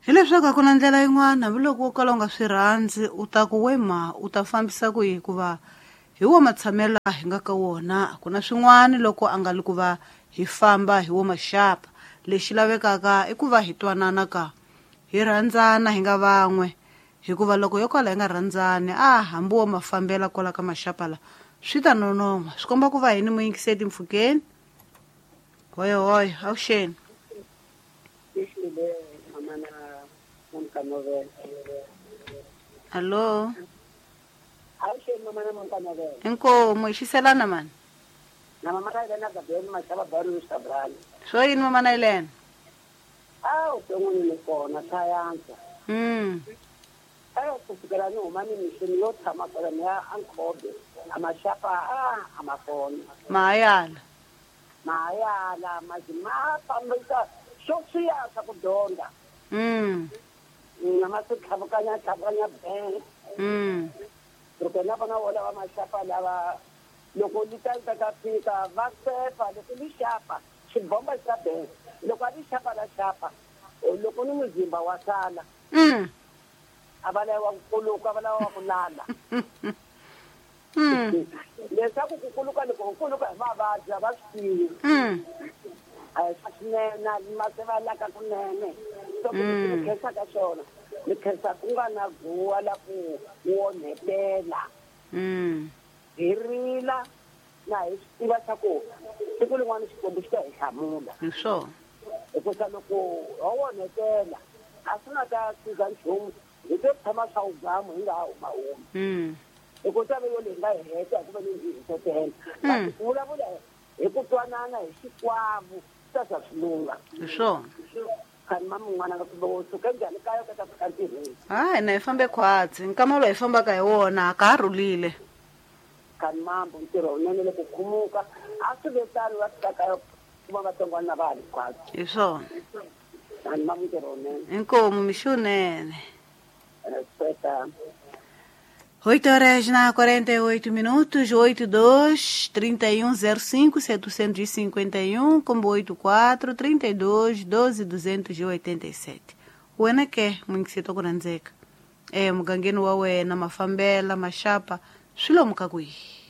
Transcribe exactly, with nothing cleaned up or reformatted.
Hileswaku a ku na ndlela yin'wana hambiloko wo kala u nga swi rhandzi u ta ku we ma u ta fambisa ku yi hikuva hi wo matshamelo hi nga ka wona a ku na swin'wana loko a nga li ku va hi famba hi wo maxapa. Lexi lavekaka i ku va hi twanana ka hi rhandzana hi nga van'we hikuva loko yo kala hi nga rhandzani a hambi wo mafambela kwala ka maxapa la swi ta nonon'hwa. Swi komba ku va hini muyingiseti mpfhukeni. Hoyo hoyo avuxeni. Allo. Inkomu hi xiselana mani. Na mama na yena Gabriel Mashaba Baru Sabrani. Swo yini mama na yena? Ah, uton'wini ni kona sayansa. Mm. Ayo kusukela ni huma ni mixini yo tshama kwala ni ya Ankhobe. A maxapa a a ma kona. Mahayala. Mahayala ma fambisa xo swiya swa ku dyondza. Mm. Na ma swi tlhavukanya tlhavukanya bee. Mm. Loko na vona wo lava maxapa lava loko li ta ta ta fika va sefa loko li xapa xibomba xa bee loko a li xapa la xapa loko ni muzimba wa sala. Mm. A va lava ku kuluka va lava ku lala. Mm. Leswaku ku kuluka loko ku kuluka hi mavabyi a va swi tivi. Mm. A hi swa swinene ma se va laka kunene. So ni khensa ka swona ni khensa ku nga na guwa la ku onhetela. Mm. Hi rila na hi swi tiva swa ku siku rin'wana Xikwembu xi ta hi hlamula. Hi swona. Hikusa loko ho onhetela a swi nga ta siza nchumu hi to tshama swa wugamu hi nga ha humahumi. Mm. Hikusa ve yo leyi nga hi heta hikuva ni hi hisetela. Kasi ku vulavula hi ku twanana hi xikwavo swi ta za swi lungha. Hi swona. Khani mama un'wana nga kumbe wo suka njhani kaya u ta fika ntirhweni. Hayi na hi fambe khwatsi nkama lowu hi fambaka hi wona a ka ha rhulile. Khani mambo ntirho wunene loko khumuka a swi ve tano va fika kaya kuma vatsongwana na va ha ri khwatsi. Hi swona. Khani mambo ntirho wunene. Inkomu mixo wunene. Respeta. Oito horas na quarenta e oito minutos, oito dois, trinta e um zero cinco, setecentos e cinquenta e um, combo oito quatro, trinta e dois, doze, duzentos e oitenta e sete. Wena ke, mwingisito kurandzeka. Eh, mugangeni wa wena, mafambela, maxapa, swi lomu ka kwihi?